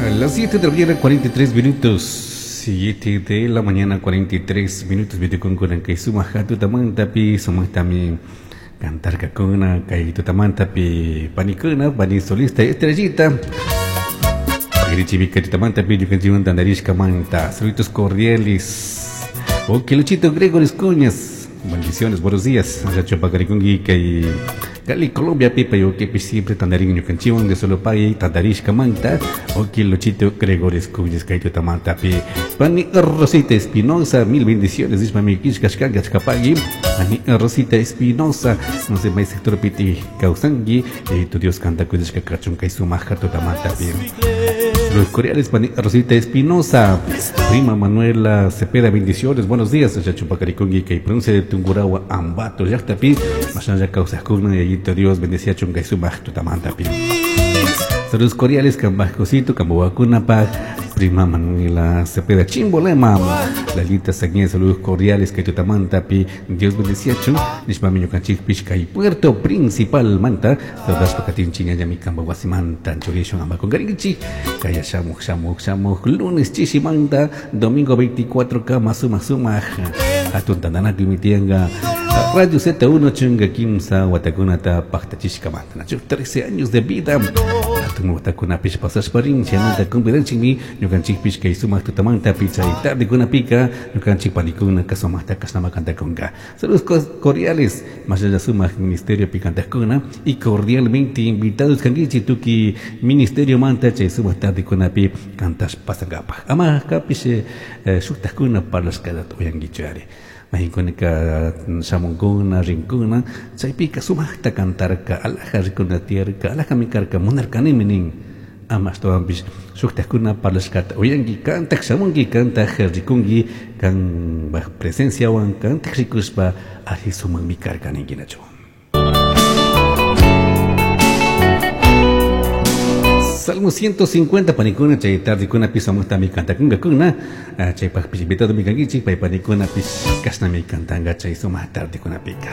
Las 7 de la mañana, 43 minutos. 7 de la mañana, 43 minutos. Vitukunkuna kay sumaq hatutamantapi sumaqtami cantarkakuna kay tutamantapi panikuna pani solista estrellita. Pagrichivika tutamantapi ñukanchikmanta andarishkamanta. Saludos cordiales. Ok, Luchito Gregoris Cuñas. Bendiciones, buenos días. Yacho pagarikunki kay Cali, Colombia, pipa yo que siempre tandarin ñukanchiwan de solo pay tandarishkamanta. Ok, Luchito Gregoris Cuñas kay tutamantapi. Pani Rosita Espinosa, mil bendiciones. Dice mami kishkashkanka chkapagui. Pani Rosita Espinosa, no sé, may sector piti kausangi. Tu Dios canta kudishka kachun kay sumaja tutamantapi. Los cordiales, Pani Rosita Espinosa, prima Manuela Cepeda, bendiciones, buenos días, Chachupacaricongi, que pronuncia de Tungurahua, Ambato, Yactapi, Masaya Causacuna, y allí Dios bendecía Chungay Sumaj, Tutamantapi. Saludos cordiales, Cambajcosito, Camboacunapa, prima Manuela Cepeda, Chimbolema, Lalita Saguía, saludos cordiales, que Tutamantapi, Dios bendecía Chun, Nishmamiño Canchik, Pishka y Puerto Principal, Manta, Saludos Pacatín, Chiñayami, Cambahuasimanta, Chorishon, Ambacongarinchi, Kaya Shamuj, Shamuj, Shamuj, lunes Chichimanta, domingo 24, Kama, Suma, Suma, Atuntandanaku, Mitianga, Radio Z1, Chunga, Kimsa, Watakunata, Pactachishkamanta, Nacho, 13 años de vida. Atun watakunapish pasashparin, chaymanta convidanchikmi, ñukanchikpish kay sumaq tutamanta pichay tardekunapika, ñukanchik panikuna kasumaqta kashnama kantakunka. Saludos cordiales, más allá sumaq ministerio picantakuna y cordialmente invitados kankichik tuki ministerio manta chay sumaq tardekunapi kantash pasankapaj. Ama kapish shuktakuna parlashkata uyankichu ari. Mahinkunaka shamunkuna, rinkuna, chaypika sumaqta cantarka, alaja rikuna tiyarka, alajami karka, munarkanimi nin. Ama ashtawanpish shuktakuna parlashkata uyanki, kantak shamunki, kantak rikunki, kanpaj presenciawan kantak rikushpa alli sumaqmi karka ninkinachu. Salmo 150 panikuna chay tardekuna sumaqtami kantakunkakuna, chaypaqpish invitado mi kankichik, pay panikuna pish kashnami kantanka chay sumaq tardekunapika.